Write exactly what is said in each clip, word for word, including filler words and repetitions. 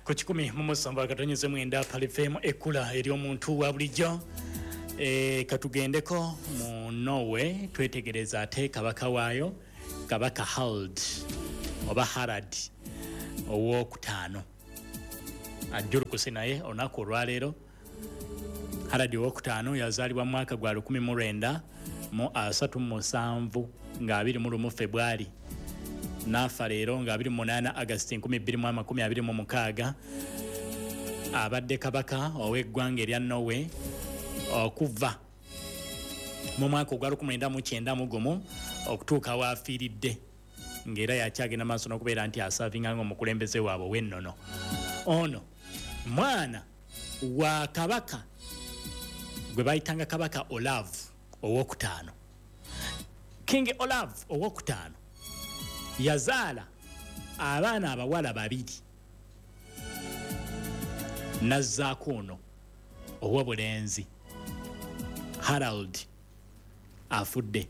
Ku kikumi mu musanvu akatonyeze mwenda Pearl F M, ekkula ery'omuntu wa bulijjo. E, katugendeko mu Norway twetegereza ate kabaka waayo, Kabaka Harald oba Harald owokutaano ajjulukuse naye olunaku olwaleero. Harald owokutaano yazaalibwa mu mwaka gwa lukumi mu lwenda mu asatu mu musanvu nga abiri mu lumu Februari, n'afa leero nga abiri mu munaana August nkumi bbiri mu amakumi abiri mu mukaaga. Abadde kabaka ow'eggwanga erya Norway okuva mu mwaka ogwa lukumi mwenda mu kyenda mu gumu okutuuka w'afiiridde, ng'era yakyagenda maaso n'okubeera nti asaavinga ng'omukulembeze waabwe ow'ennono. Ono mwana wa kabaka gwe bayitanga Kabaka Olav owokutaano. King Olav owokutaano yazaala abaana abawala babiri, nazzaako ono ow'obulenzi Harald afudde.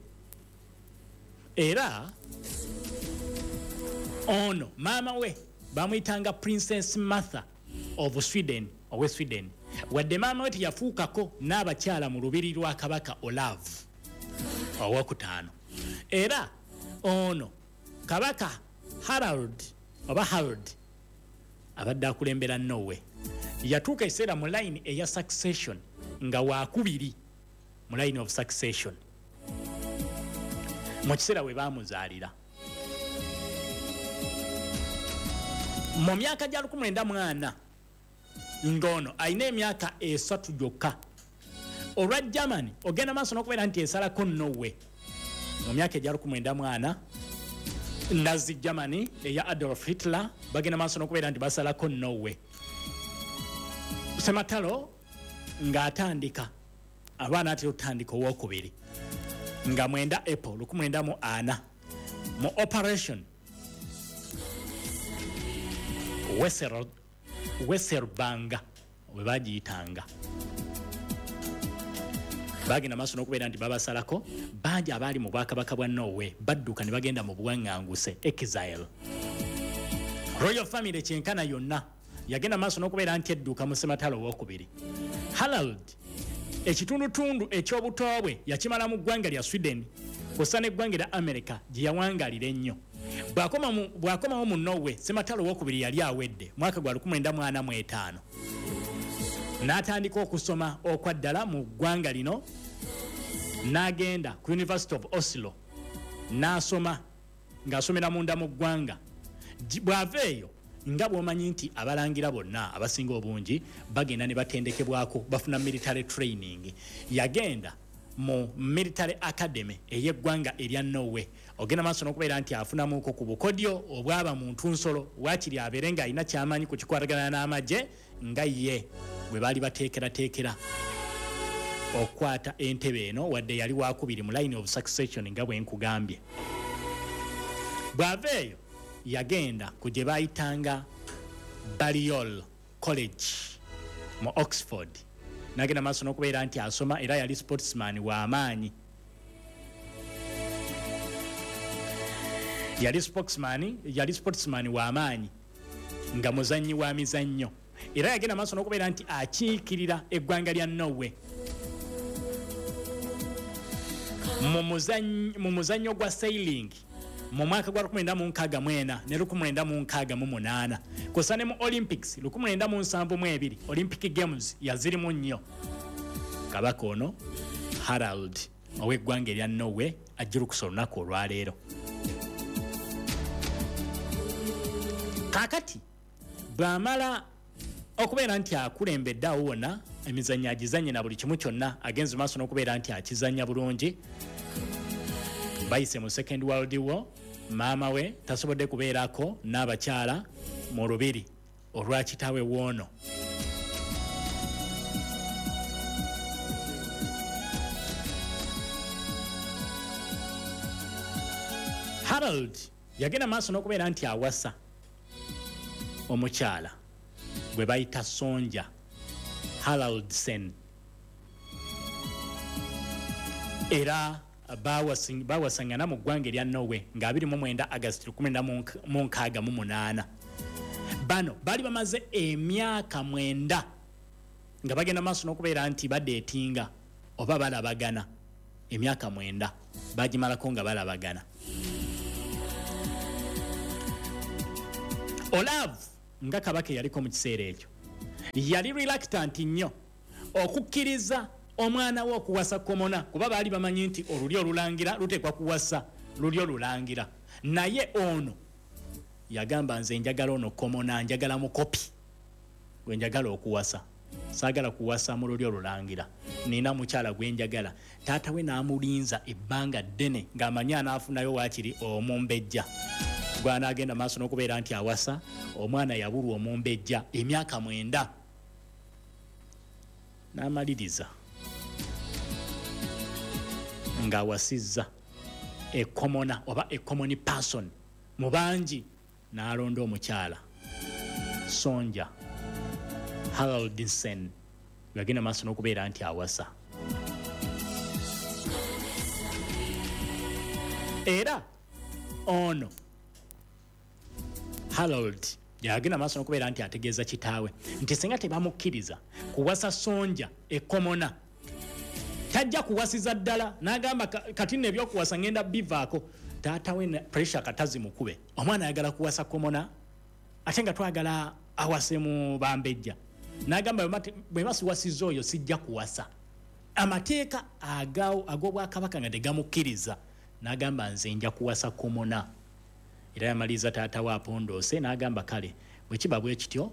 Era ono maama we bamuyitanga Princess Martha of Sweden, owe Sweden. Wadde maama we teyafuukako n'abakyala mu lubiri lwa Kabaka Olav owokutaano. Era ono Kabaka Harald oba Harold abadde akulembera Norway, yatuuka ekiseera mu line eya succession nga waakubiri mu line of succession mu kiseera we baamuzaalira. Mu myaka gya lukumi mwenda mu ana ng'ono alina emyaka esatu gyokka, olwa Germany ogenda maaso n'okubeera nti esalako Norway mu myaka egya lukumi mwenda mu ana. Nazi Germany eya Adolf Hitler bagenda maaso n'okubeera nti basalako Norway. Sematalo ng'atandika abaana atera otandika owokubiri nga mwenda April lukumi mwenda mu ana mu Operation Weserbanga we bagiyitanga, bagenda maaso n'okubeera nti babasalako. Bangi abaali mu bwakabaka bwa Norway badduka ne bagenda mu buwaŋŋanguse, exile. Royal family kyenkana yonna yagenda maaso n'okubeera nti edduka mu sematalo owokubiri. Harald ekitundutundu eky'obuto bwe yakimala mu ggwanga lya Sweden kw'ossa n'eggwanga erya America gye yawangalira ennyo. Bw'akomawo mu Norway, sematalo owokubiri yali awedde mwaka gwa lukumi mwenda mu ana mu etaano, n'atandika okusoma okwa ddala mu ggwanga lino, n'agenda ku University of Oslo n'asoma ng'asomera munda mu ggwanga. Bw'ava eyo, nga bw'omanyi nti abalangira bonna abasinga obungi bagenda ne batendekebwako, bafuna military training, yagenda mu military academy ey'eggwanga erya Norway. Ogenda maaso n'okubeera nti afunamuko ku bukodyo obwaba mu ntunsolo, waakiri abeere ng'alina ky'amanyi ku kikwatagana n'amagye nga ye bwe baali bateekerateekera okukwata entebe eno, wadde yali wakubiri mu line of succession nga bwe nkugambye. Bw'ava eyo yagenda ku gye bayitanga Balliol College mu Oxford, n'agenda maaso n'okubeera nti asoma, era yali sportsman w'amaanyi. Yali spokesman, yali sportsman w'amaanyi nga muzannyi wa mizannyo, era yagenda maaso n'okubeera nti akiikirira eggwanga lya Norway mu muzannyo gwa sailing mu mwaka gwa lukumi mwenda mu nkaaga mu ena ne lukumi mwenda mu nkaaga mu munaana, kw'ossa ne mu Olympics lukumi mwenda mu nsanvu mu ebiri Olympic Games yazirimu nnyo. Kabaka ono Harald ow'eggwanga erya Norway ajjulukusa olunaku olwaleero. Kaakati bw'amala okubeera nti akulembedde awo wonna emizannyo agizannye na buli kimu kyonna, agenze maaso n'okubeera nti akizannya bulungi. Bayise mu Second World War, maama we tasobodde kubeerako n'abakyala mu lubiri olwa kitaawe w'ono. Harald yagenda maaso n'okubeera nti awasa omukyala gwe bayita Sonja Haraldsen, era bawasangana mu ggwanga erya Norway nga abiri mu mwenda August lukumi mwenda mu nkaaga mu munaana. Bano baali bamaze emyaka mwenda nga bagenda maaso n'okubeera nti badeetinga oba balabagana. Emyaka mwenda bagimalako nga balabagana. Olav nga kabaka yaliko mu kiseera ekyo yali reluctant nnyo okukkiriza omwana we okuwasa commoner, kuba baali bamanyi nti olulyo olulangira luteekwa kuwasa lulyo lulangira. Naye ono yagamba, nze njagala ono commoner, njagala mukopi gwe njagala okuwasa, saagala kuwasa mu lulyo olulangira, nina mukyala gwe njagala. Taata we n'amulinza ebbanga ddene ng'amanyi anaafunayo waakiri omumbejja gw'anaagenda maaso n'okubeera nti awasa. Omwana yabulwa omumbejja emyaka mwenda n'amaliriza ng'awasizza e commoner oba e common person mu bangi, n'alonda omukyala Sonja Haraldsen yagenda maaso n'okubeera nti awasa. Era ono Harold yagenda maaso n'okubeera nti ategeeza kitaawe nti singa tebamukkiriza kuwasa Sonja e commoner, tajja kuwasiza ddala. N'agamba, kati nno ebyokuwasa ngenda bivaako. Taata we pressure katazi mukube, omwana ayagala kuwasa commoner ate nga twagala awase mu bambejja. N'agamba, bwe basiwasizza oyo sijja kuwasa. Amateeka ag'obwakabaka nga tegamukkiriza. N'agamba, nze nja kuwasa commoner. Era yamaliriza taata we apondoose n'agamba, kale bwe kiba bwe kityo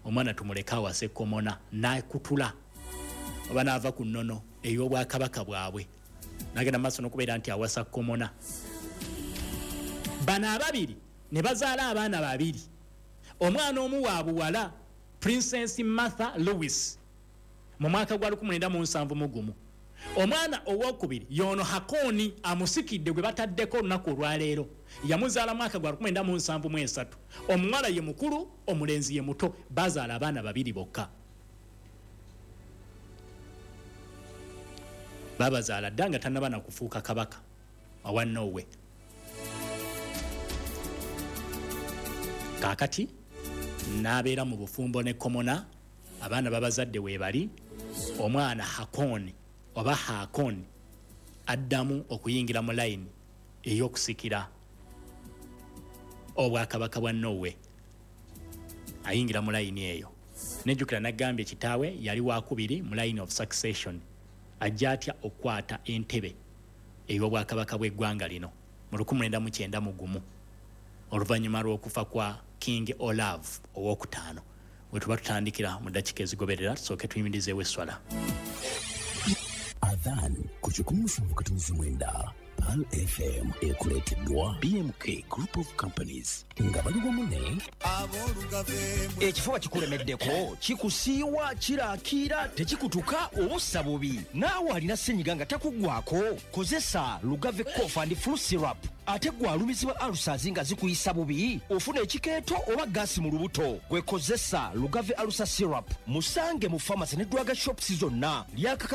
omwana tumuleke awase commoner. N'akutula oba n'ava ku nnono ey'obwakabaka bwabwe n'agenda maaso n'okubeera nti awasa commoner. Bano ababiri ne bazaala abaana babiri. Omwana omu wa buwala, Princess Martha Louis, mu mwaka gwa lukumi mwenda mu nsanvu mu gumu. Omwana owokubiri yono Hakoni amusikidde gwe bataddeko olunaku olwaleero, yamuzaala mwaka gwa lukumi mwenda mu nsanvu mu esatu. Omuwala ye mukulu, omulenzi ye muto. Bazaala abaana babiri bokka. Babazaala dda nga tannaba na kufuuka kabaka owa Norway. Kaakati n'abeera mu bufumbo ne commoner, abaana babazadde weebali. Omwana Hakoni oba Hakon addamu okuyingira mu layini ey'okusikira obwakabaka bwa Norway, ayingira mu layini eyo. Nejjukira nagambye kitaawe yali wakubiri mu line of succession. Ajja atya okukwata entebe ey'obwakabaka bw'eggwanga lino mu lukumi mwenda mu kyenda mu gumu oluvannyuma lw'okufa kwa King Olav owokutaano? We tuba tutandikira mu ddakiika ezigoberera, tusooke tuyimirizeewo esswala. Adhan ku kikumi musanvu katonzi mwenda Pearl F M, ekuleeteddwa B M K Group of Companies nga bali wamu ne Ekifuba kikulemeddeko, kikusiiwa, kiraakiira, tekikutuka, obussa bubi. Naawe alina ssenyiga nga takuggwako, kozesa Lugave Cough and Flu Syrup. Ate gwe alumizibwa ulcers nga zikuyisa bubi, ofuna ekikeeto oba gaasi mu lubuto, gwe kozesa Lugave Ulcer Syrup. Musange mu pharmacy ne drug shops zonna. Lyakakasa.